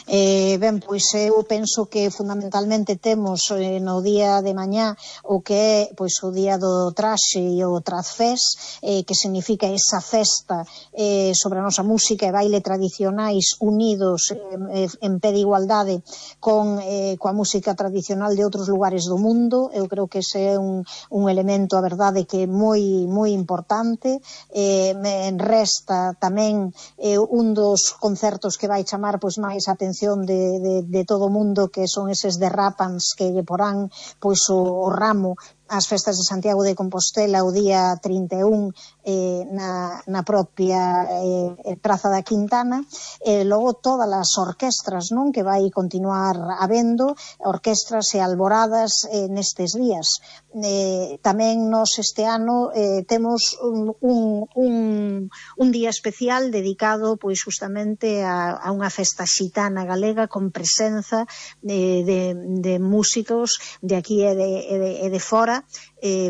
Ben, pois eu penso que fundamentalmente temos no día de mañá o que é pois o día do traxe e o Trazfest, que significa esa festa sobre a nosa música e baile tradicionais unidos en pé de igualdade coa música tradicional de outros lugares do mundo. Eu creo que ese é un elemento, a verdade, que é moi importante. Me resta tamén un dos concertos que vai chamar pois máis a atención de todo o mundo, que son eses de Rapans que lle porán pois o ramo ás festas de Santiago de Compostela o día 31 na propia Praza da Quintana, e logo todas as orquestras, non, que vai continuar habendo, orquestras e alboradas nestes días. Tamén nos este ano temos un día especial dedicado pois justamente a unha festa xitana galega con presenza de músicos de aquí e de fora,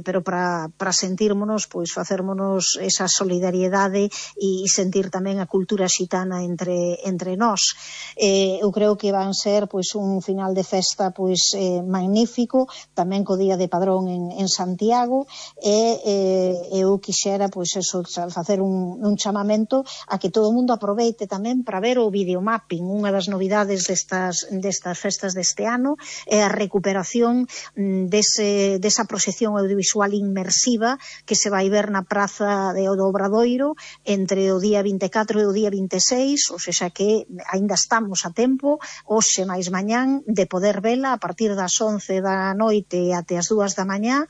pero para sentírmonos, pois facérmonos esa solidariedade e sentir tamén a cultura xitana entre nós. Eu creo que van ser pois un final de festa pois magnífico, tamén co Día de Padrón en Santiago, e eu quixera pois eso, facer un chamamento a que todo o mundo aproveite tamén para ver o videomapping. Unha das novidades destas festas deste ano é a recuperación desa proxección audiovisual inmersiva que se vai ver na Praza do Obradoiro entre o día 24 e o día 26, ou seja que aínda estamos a tempo, hoxe máis mañán, de poder vela a partir das 11 da noite até as 2 da mañá,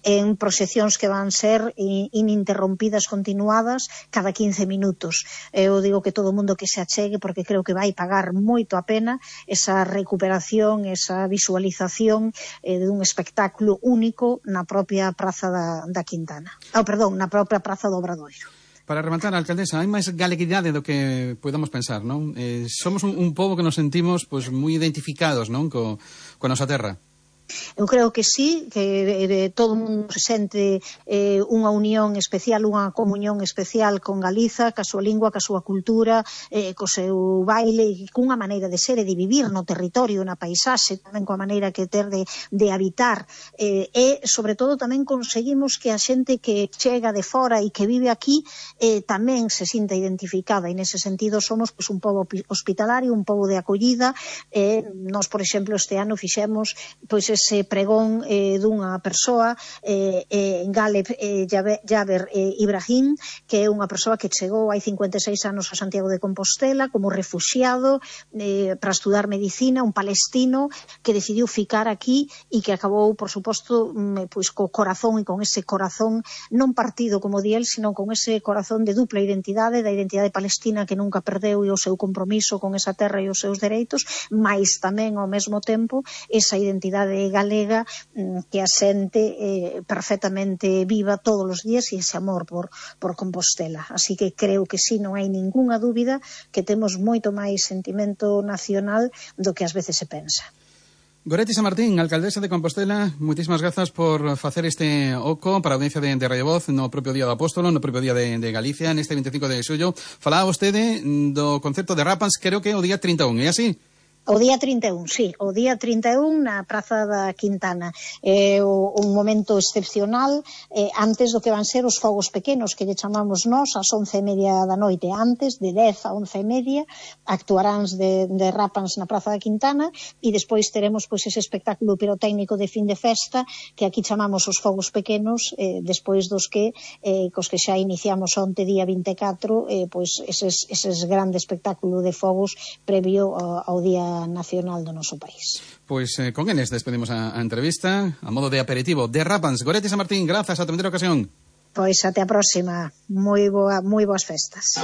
en proxeccións que van ser ininterrompidas, continuadas, cada 15 minutos. Eu digo que todo o mundo que se achegue, porque creo que vai pagar moito a pena esa recuperación, esa visualización dun espectáculo único na propia Praza da Quintana. Na propia Praza do Obradoiro. Para rematar, alcaldesa, hai máis galeguidade do que podamos pensar, non? Somos un pobo que nos sentimos pois moi identificados, non, coa nosa terra. Eu creo que sí, que todo o mundo se sente unha unión especial, unha comunión especial con Galiza, ca súa lingua, ca súa cultura, co seu baile, cunha maneira de ser e de vivir no territorio, na paisaxe, tamén coa maneira que ter de habitar, e sobre todo tamén conseguimos que a xente que chega de fora e que vive aquí tamén se sinta identificada, e nese sentido somos pois un pobo hospitalario, un pobo de acollida. Nós, por exemplo, este ano fixemos pois ese pregón dunha persoa, Galeb Jaber Ibrahim, que é unha persoa que chegou hai 56 anos a Santiago de Compostela como refuxiado para estudar medicina, un palestino que decidiu ficar aquí e que acabou, por suposto, pois co corazón, e con ese corazón non partido como di el, sino con ese corazón de dupla identidade, da identidade palestina que nunca perdeu e o seu compromiso con esa terra e os seus dereitos, mais tamén ao mesmo tempo esa identidade galega que a xente perfectamente viva todos os días, e ese amor por Compostela. Así que creo que sí, non hai ningunha dúbida que temos moito máis sentimento nacional do que ás veces se pensa. Goretti Samartín, alcaldesa de Compostela, moitísimas grazas por facer este oco para a audiencia de Radio Voz no propio Día do Apóstolo, no propio Día de Galicia, neste 25 de xullo. Falaba vostede do concerto de Rapans, creo que o día 31, é así? O día 31, sí, o día 31 na Praza da Quintana. É un momento excepcional antes do que van ser os fogos pequenos que lle chamamos nós, ás 11:30 da noite. Antes, de 10 a 11:30, actuaráns de Rapans na Praza da Quintana, e despois teremos pois ese espectáculo pirotécnico de fin de festa que aquí chamamos os fogos pequenos, despois dos que cos que xa iniciamos onte día 24, pois eses grande espectáculo de fogos previo ao Día Nacional do noso país. Pois con eles despedimos a entrevista a modo de aperitivo de Rapans. Goretti Samartín, grazas, ata outra ocasión. Pois até a próxima. Moi boas festas.